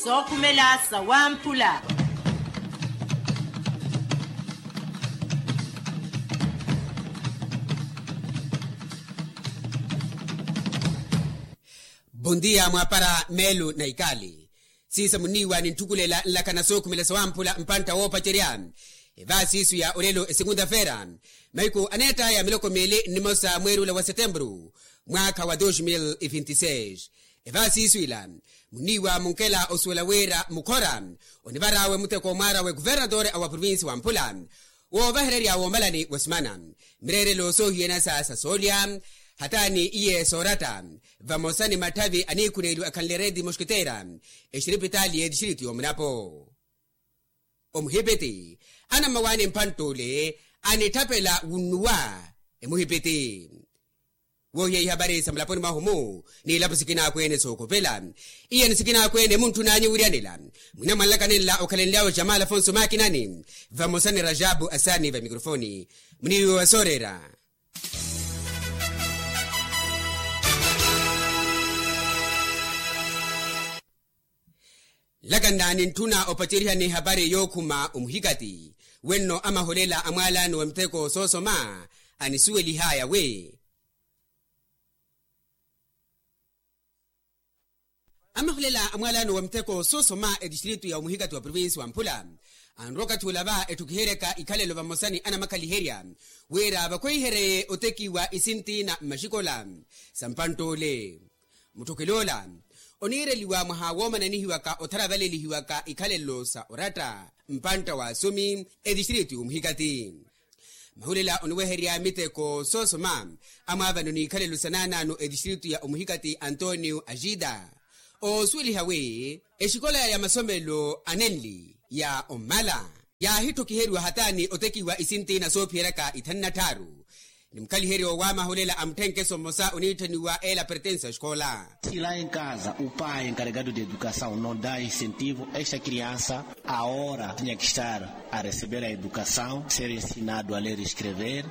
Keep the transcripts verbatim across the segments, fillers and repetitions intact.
Sookhumela sawamphula. Bondia mwaapara meelu na ikaali. Siisa munniiwa nintthukhulela nlakha na sookhumela sawamphula mpantta woopacerya. Evaasiisu ya olelo esekunta-feera, mahiku aneett'aya miloko miili nnimosa mweerula wa setempuru, mwaakha wa dos mil e vinti seis. Evaasiisu ila munniiwa munkela osuwela wira mukhora onivar'awe muteko mwaar'awe kuvernatore a wa provinsi wamphula, woovahererya woomalani wa simana, mireerelo soohiyana sa sa soolya, hataani iye sooratta, vamosa ni matthavi aniikhuneeliwa akhanle redi moskiteera, exiripitaali y'etistritu y'omunapo. Omuhipiti anammawaani mphantt'ule anitthapela wunnuwa. Emuhipiti woohiya ihapari sa mulaponi mwahu-mu, n'ilapo sikinaakwene sookopela. Iyani sikinaakwene muntthun'anyu wiryanela. Mwina mwanlakani nla okhalenly'awe jamala afonso maakinani, vamosa ni rajabu asani va mikrofoni. Muniiwe wa sooreera. Nlaka nnaani ntthuna opacerihani ehapari yookhuma omuhikati, wenno amaholela a mwaalaano wa miteko soosoma anisuwelih'aya wi, amaholela a mwaalaano wa miteko soosoma etistritu ya omuhikati wa provinsi wamphula, anrowa okathi ula va etthukiheryaka ikhalelo vamosa ni anamakhaliherya wira vakhweihereye otekiwa isinti na mmaxikola sa mpantt'ule. Mutthukil'ola oniireliwa mwaha woomananihiwaka otharavalelihiwaka ikhalelo sa oratta mpantta wa asumi etistritu y'omuhikati. Mahulela oniweherya miteko soosoma amwaavano n'ikhalelo sa naanaano etistritu ya omuhikati antonio ajida, oosuweliha wi exikola ya masomelo anenli ya ommala yaahittokiheriwa hataani otekiwa isinti na soophiyeryaka ithanu na tthaaru. Ni mukhaliheryo w'amahulela a mutthenkeso mmosa oniitthaniwa ela pertensa exikola. Si la en kaza o pai enkaregado de edukasaw no da insentivo esta kriansa, aora tinha ki estar a receber a edukasaw, ser ensinado a ler escrever.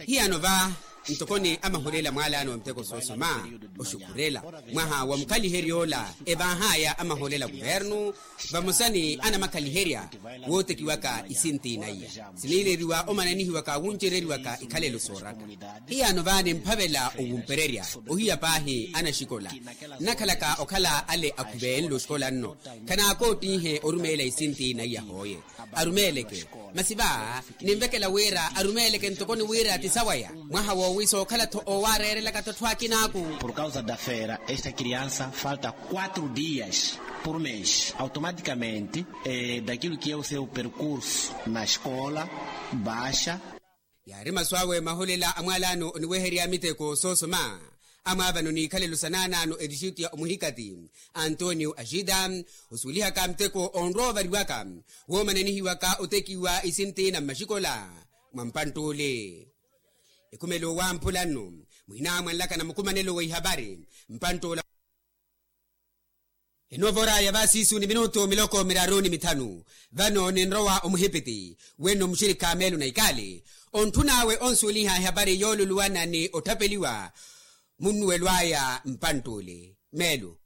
Hiyano va ntokoni amahulela mwaalaano wa miteko soosoma oxukhurela mwaha wa mukhalihery'ola evaah'aya amahulela kuvernu, vamosa ni anamakhaliherya wootekiwaka isinti naiya siniileriwa omananihiwaka wuncereriwaka ikhalelo sooraka. Hiyano va nimphavela owumpererya ohiya paahi anaxikola nnakhalaka okhala ale akhuvenle oxikola nno, khanaakootinhe orumeela isinti naiya hooye. Arumeeleke masi va ninvekela wira arumeeleke ntokoni wira ti sawaya mwaha woowi sookhala-tho oowaareerelaka-tho atthu akinaaku. Por kausa da fera esta kriansa falta quatro dias por mes automatikamente, dakilu ki eu seu perkursu na eskola baixa. Yaari masu awe mahulela a mwaalaano oniweherya miteko soosoma amwaavano n'ikhalelo sa naanaano etistritu ya omuhikati antonio ajida, osuwelihaka muteko onrowa ovariwaka woomananihiwaka otekiwa isinti na mmaxikola mwa mpantt'ule. Ekhumelo wamphula nno mwina mwanlaka na mukumanelo wa ihapari mpantt'ula. Enoovora ya vaasiisu ni minutu miloko miraru ni mithanu. Vano ninrowa omuhipiti wenno muxirikha meelo na ikaali ontthun'awe onsuweliha ehapari yooluluwana ni otthapeliwa munnuwelo aya mpantt'ule meelo.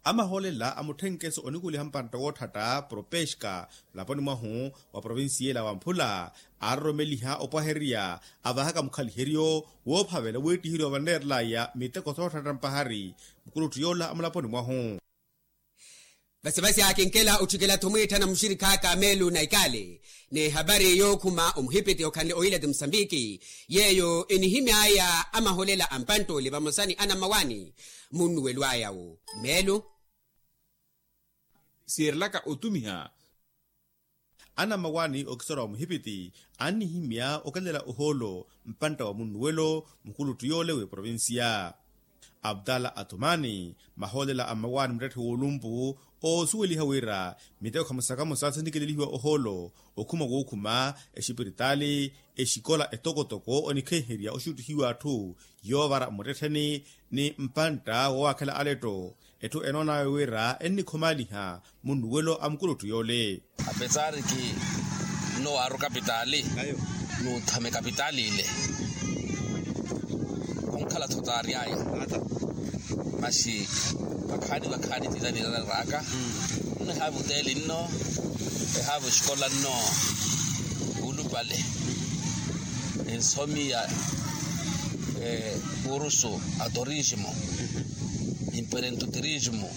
Amahoolela a mutthenkeso onikuliha mpantta wootthatta propeska mulaponi mwahu wa provincia ela wamphula aaroromeliha opwahererya avaahaka mukhaliheryo woophavela weettiherya ovaneerelaya miteko sootthatta mpahari mukuluttu yoola a mulaponi mwahu. Vasivasi akinkela otthikela-tho mwiitthana muxirikh'aka meelu na ikaali n'ehapari yookhuma omuhipiti okhanle oilati musambiki yeeyo enihimy'aya amaholela a mpantt'ole vamosa ni anammawaani munnuwelo aya-wo meelu siirelaka otumiha. Anammawaani okisora wa muhipiti annihimya okelela ohoolo mpantta wa munnuwelo mukuluttu yoole w'eprovincia abdala atumani mahoolela a mmawaani muttetthe w'olumpu oosuweliha wira miteko khamosa khamosa sinikelelihiwa ohoolo okhuma wookhuma exipiritaali exikola etokotoko onikhenherya oxuttihiwa atthu yoovara mmuttettheni ni mpantta woowakhela aletto etthu enoon'awe wira ennikhomaaliha munnuwelo a mukuluttu yoole. Apesar ki nno waaru kapitaali nuuthame kapitaali ile onkhala-tho Aryaya. Masi vakhaani vakhaani tita nirararaka. Nno ehaava oteli nno, ehaava esikola nno, wuulupale ensomi ya kurusu a turismo, imperentuturismo.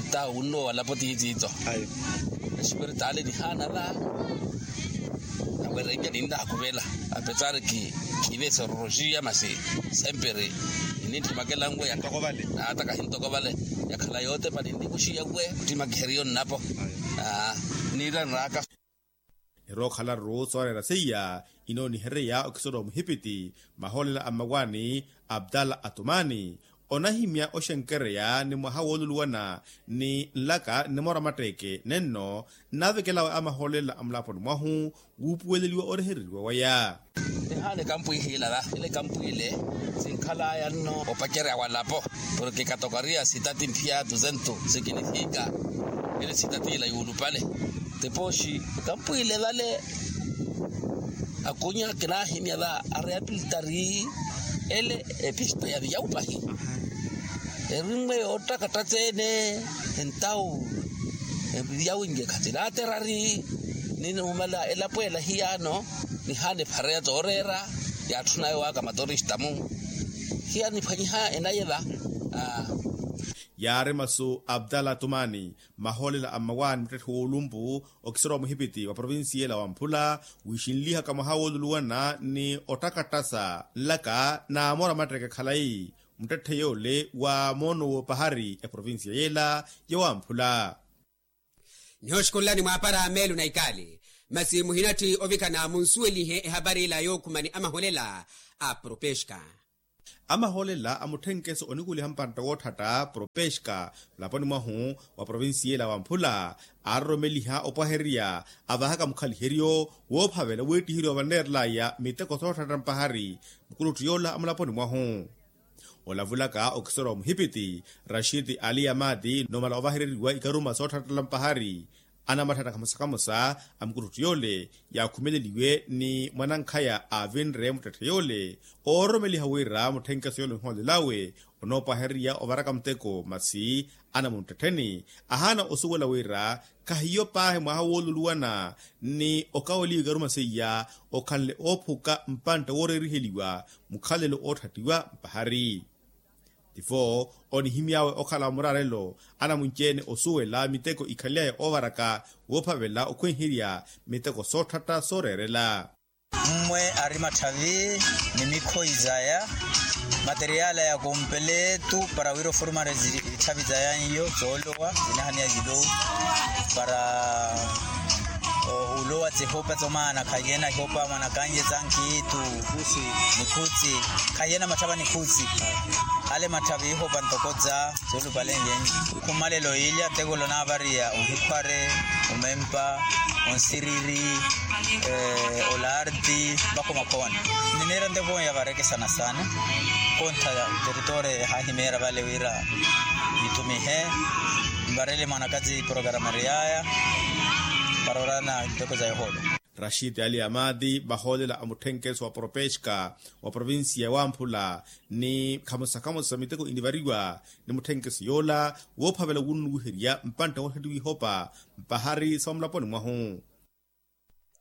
Nta wunno walapo tiitiito. Espiritaali nihaana va. Nawerenja ninlaakuvela apetsari ki kive sororoxiya masi semperi ninittimakela nwe. Ata kahintoko vale yakhala yootepa ninlikuxiya nwe kuttimakiheriyo nnapo. Niiranraka. Nirookhala ruru sooreera seiya inoonihereya okisoro muhipiti mahoolela a mmawaani abdala atumani onahimya oxenkereya ni mwaha wooluluwana ni nlaka nnimora matteeke nenno nnaavekelawe a mahoolela a mulaponi mwahu wuupuweleliwa orehereriwa waya. Nihaana ekampwiihila la ile ekampwiile sinkhalaya nno opacerya walapo porke katokariya sitati mphiya tuzentu sikinifika ile sitati ila yuulupale. Tipooxi ekampwiile vale akunya kinaahimya va areapilitari ele epista ya viyawu pahi. Erinwe yoottakatta tseene entawu eviyawu nje khatilaaterari. Ninumala elapo ela hiyaano nihaana ephareya tooreera yaatthuna yowaka matorista mu hiyaano niphwanyiha enaye va. Yaari masu abdala tumani mahoolela a mmawaani muttetthe woolumpu okisoro wa muhipiti wa provincia ela wa mphula wiixinlihaka mwaha wooluluwana ni ottakattasa nlaka naamora matteeke khalayi muttetthe yoole wa moono woopahari eprovincia yela ya wamphula. Nihooxikunlani mwaapara meelu na ikaali masi muhinatthi ovikana munsuwelihe ehapari ila yookhumani a maholela a propeska. A maholela a mutthenkeso onikuliha mpantta wootthatta propeska mulaponi mwahu wa provincia ela wa mphula aaroromeliha opwahererya avahaka mukhaliheryo woophavela weettiherya ovaneerelaya miteko sootthatta mpahari mukuluttu yoola a mulaponi mwahu. Olavulaka okisoro wa muhipiti rashid ali amadi numala ovahereriwa ikaruma sootthattala mpahari anamatthana kamosa kamosa a mukuluttu yoole yaakhumeleliwe ni mwanankhaya aavinre muttetthe yoole oororomeliha wira mutthenkeso yoole onhoolelawe onoopwahererya ovaraka muteko masi anamunttettheni ahaana osuwela wira khahiyo paahi mwaha wooluluwana ni okaweliwa ikaruma seiya okhanle oophuka mpantta wooreeriheliwa mukhalelo ootthattiwa mpahari. Tifo onihimy'awe okhala wa muraarelo anamunci-ene osuwela miteko ikhaly'aya oovaraka woophavela okhwenherya miteko sootthatta sooreerela. Mmwe ari matthavi ni mikhoyi zaya materiala ya kompeletu para wira oformarezi itthavi zaya n'iyo zoolowa zinahaniya zilowu para olowa tsehopa tsomaana khaiyena ihopa mwanakanye za nkhiitu nikhutsi khaiyena matthava nikhutsi ale matthava ihopa ntoko za soolupalenleni khumalelo ilya teko lonaavariya ohikhware omempa onsiriri olarti mpakha omakhoone. Niniira nteponya varekesana sana kontha ya teritoria ehahimeera vale wira nithumihe mvarele mwanakazi programari yaya para orana nteko za yohoolo. Rashid ali amadi vahoolela a mutthenkeso wa propeska wa provincia ya wamphula ni khamosa khamosa miteko inivariwa ni mutthenkeso yoola woophavela wunnuwiherya mpantta wootthatiwa ihopa mpahari sa omulaponi mwahu.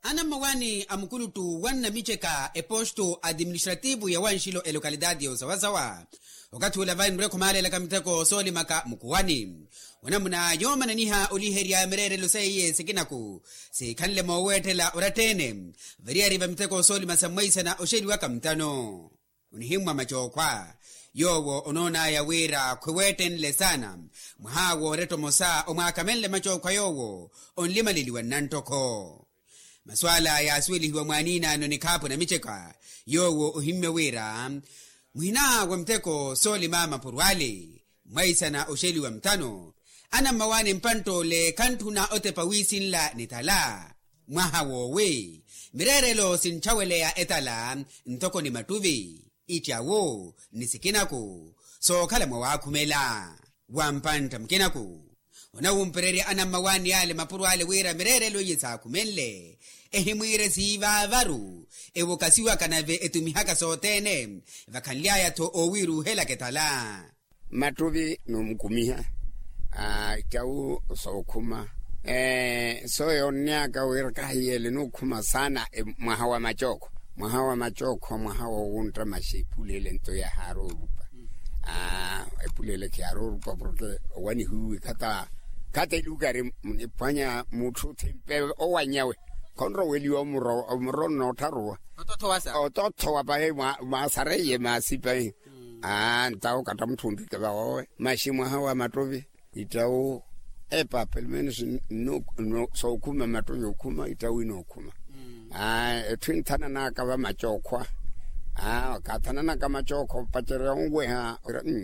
Anammawaani a mukuluttu wa nnamiceka eposto administrativo ya wanxilo elocalidade ya osawasawa okathi ula vainre khumaalelaka miteko soolimaka mukuwani onamuna yoomananiha oliherya mireerelo seiye sikinaku sikhanle mooweettela oratta-ene variyari va miteko soolima sa mwaisana oxeliwaka mutano onihimmwa macookhwa yoowo onoon'aya wira khwiweettenle saana mwaha woorettomosa omwaakamenle macookhwa yoowo onlimaleliwa nnanttokho. Masu ala yaasuwelihiwa mwaaniinaano nikhaapu namiceka yoowo ohimmya wira muhina wa miteko soolima mapuro ale mwaisana oxeliwa mutano anammawaani mpantt'ole khantthuna otepa wiisinla nitala mwaha woowi mireerelo sintthaweleya etala ntoko ni mattuvi ittyawo ni sikinaku sookhala mwawaakhumela wa mpantta mukinaku Onawumpererya anammawaani ale mapuro ale wira mireerelo iye saakhumenle ehimwiire siivaavaru, ewokasiwaka nave etumihaka sothene. Vakhanly'aya-tho oowiiruuhelaka etala. Mattuvi noomukumiha, ittawu sookhuma. Sooyo onnyaka wira kahiyeele nookhuma saana. Mwaha wa macookho, mwaha wa macookho mwaha woowuntta maxi epuleele nto yahaaroorupa. Epuleele khiyaaroorupa porke owanihiwe khata khata elukari. Niphwanya mutthu thimpe owanyawe khonroweliwa omuro omuro nnoottharuwa. Otothowa pahi mwaasareiye maasi pahi. Ntawo katta mutthu onrike vawowe maxi mwaha wa mattovi. Ittawu epa pelomenos sookhuma mattovi okhuma ittawu inookhuma. Etthu inthananaka va macookhwa. Kaathananaka macookhwa opacerya onweha.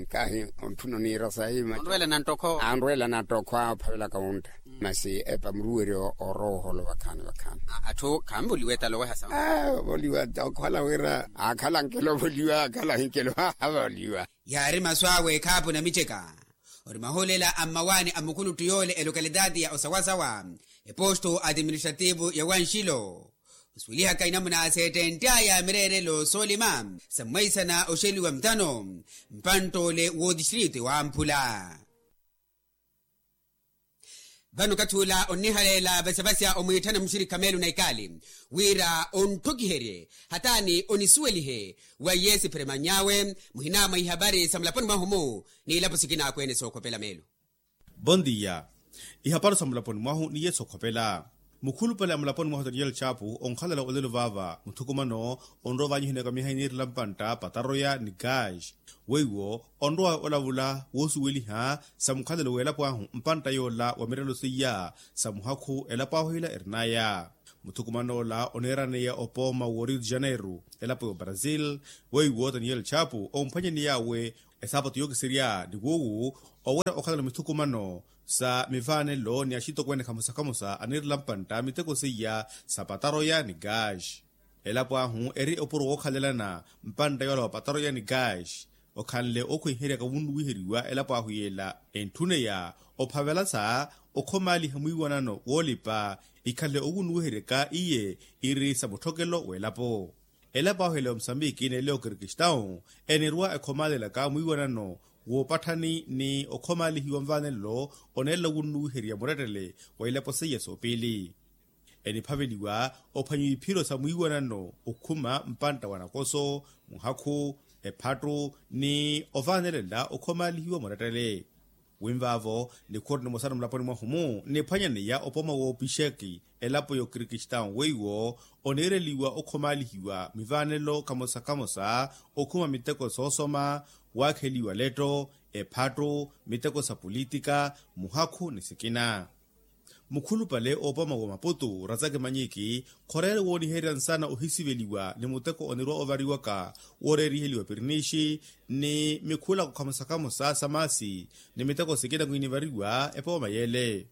Kahi ontthuna oniira sahi macookhwa. Anrwela nattokhwa ophavelaka wuntta. Masi epa muruweryo orowa oholo vakhaani vakhaani. Atthu khaanvoliwa etala oweha sawa. Ovoliwa okhala wira akhala ankelo ovoliwa akhala ahinkelo avoliwa. Yaari masu awe ekhaapu namiceka. Ori mahoolela a mmawaani a mukhuluttu yoole elokalitaati ya osawasawa eposto administrativo ya wanxilo, osuwelihaka inamuna seettentt'aya mireerelo soolima sa mwaisana oxeliwa mthano mpanttoole wootistritu ewamphula. Vano okathi ula onnihaleela vasavasya omwiitthana muxirikha meelo na ikaali wira ontthokiherye hataani onisuwelihe wa yesu pheremany'awe muhina mwa ihapari sa mulaponi mwahu-mu n'ilapo sikina akweene sookhopela meelo. Bondiya. Ihapari sa mulaponi mwahu ni yesu okhopela mukhulupale a mulaponi mwahu daniel chapu onkhalela olelo vaava muthukumano onrowa vanyihineeka miha iniirela mpantta pataroya ni gaaxi. Weiwo onrowa olavula woosuweliha sa mukhalelo w'elapo ahu mpantta yoola wa mirelo seiya sa muhakhu elapo ahu ila erin'aya. Muthukuman'ola oneeraneya opooma wo rio de janeiro elapo y'obrasil. Weiwo daniel chapu omphwanyaniy'awe esaapatu yookiserya ni wuuwu owerya okhalano mithukumano sa mivaanelo ni axitokweene khamosa khamosa aniirela mpantta miteko seiya sa pataroya ni gaaxi. Elapo ahu eri opuro wookhalelana mpantta yoola wa pataroya ni gaaxi okhanle ookhwenheryaka wunnuwiheriwa elapo ahu yeela entthuneya ophavela sa okhomaaliha mwiiwanano woolipa ikhale owunnuwiheryaka iye iri sa mutthokelo w'elapo. Elapo ahu ele omusambiki n'ele okirikistau enirwa ekhomaalelaka mwiiwanano woopatthani ni okhomaalihiwa nvaanelo oneelela wunnuwiherya murettele wa ilapo seiya soopiili. Eniphaveliwa ophwanyiwa iphiro sa mwiiwanano okhuma mpantta wa nakoso muhakhu ephattu ni ovaanelela okhomaalihiwa murettele. Winvaavo nikhuru nimosa na mulaponi mwahu-mu niphwanyaneya opooma woopixeki elapo y'okirikistau weiwo oneereliwa okhomaalihiwa mwivaanelo khamosa khamosa okhuma miteko soosoma waakheliwa letto ephattu miteko sa politika muhakhu ni sikina. Mukhulupale oopooma wa maputu razaki manyiki khoreere wooniherya nsana ohisiveliwa ni muteko onirwa ovariwaka wooreeriheliwa pirinishi ni mikhulako khamosa khamosa sa maasi ni miteko sikina kwiinivariwa epooma yeele.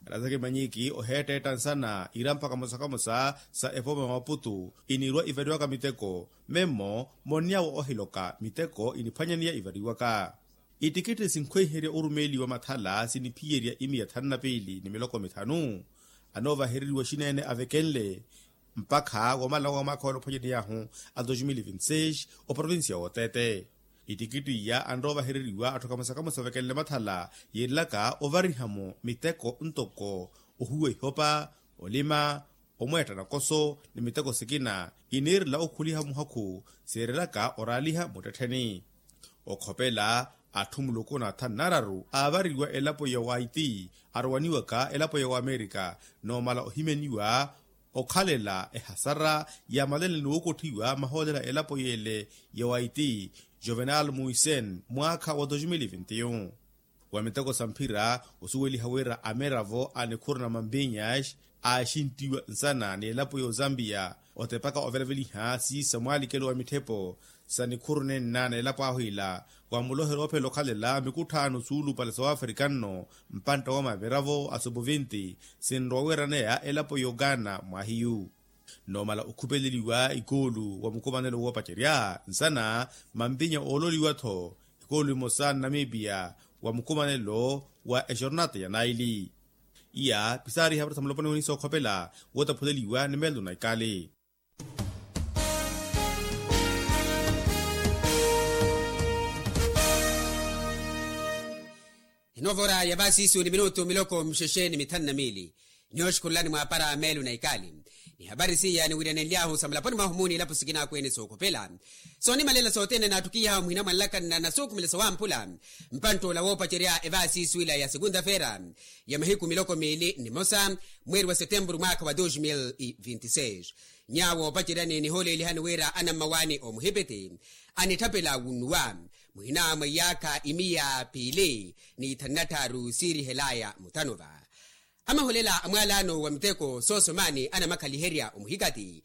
Razaki manyiki oheetteetta nsana irampa khamosa khamosa sa epooma ya maputu inirwa ivariwaka miteko memmo monniyawo ohiloka miteko iniphwanyaneya ivariwaka. Ittikitti sinkhweiherya orumeeliwa mathala siniphiyerya imiya thanu na piili ni miloko mithanu anoovahereriwa xineene avekenle mpakha womala wa mwaakha wala ophwanyaney'ahu a dos mil vinti seis oprovincia y'otete. Ittikitti iya anroovahereriwa atthu khamosa khamosa avekenle mathala yiirelaka ovariha-mo miteko ntoko ohuwa ihopa olima omweetta nakoso ni miteko sikina iniirela okhuliha muhakhu siirelaka oraaliha muttettheni. Okhopela atthu muluku na thanu nararu aavariwa elapo ya waiti arowaniwaka elapo ya wamerika noomala ohimeniwa okhalela ehasara yaamalele ni wookotthiwa mahoolela elapo yeele ya waiti juvenal muisen mwaakha wa dos mil vinti-un. Wa miteko sa mphira osuweliha wira amiravo a nikhuru na mampinyas aaxinttiwa nsana ni elapo y'ozampiya otepaka ovelaveliha siisa mwaalikelo wa mitthepo sa nikhuru nenna n'elapo ahu ila wa muloherya oophela okhalela mikutthaano suulupale sa wafrika nno mpantta woomamiravo a sopovinti sinrowa wiiraneya elapo y'ogaana mwahiyu. Noomala okhupeleliwa ikoolu wa mukumanelo woopacerya nsana mampinya oololiwa-tho ikoolu emosa nnamipiya wa mukumanelo wa exornata ya naili. Iya pisaari ihavari sa muloponi woni sookhopela wootaphuleliwa ni meelo na ikali. Inoovora ya vaasiisu ni minutu miloko mixexe ni mithanu na miili. Nihooxukhululani mwaapara meelo na ikali. Ni hapari siya niwiiranenly'ahu sa mulaponi mwahu muuni ilapo sikina akweene sookhopela, soonimalela sothene naattukiyaha omuhina mwa nlakanna na suukhumela sa wampula. Mpantt'ola woopacerya evaasiisu ila ya sekunta-feera ya mahiku miloko miili ni mosa, mweeri wa setempuru mwaakha wa dos mil vinti seis. Nyaawo oopaceryani nihoolelihani wira anammawaani omuhipiti anitthapela wunnuwa muhina mwa iyaakha imiya piili ni ithanu na tthaaru siirihelaya muthanova. Amaholela a mwaalaano wa miteko soosomaani anamakhaliherya omuhikati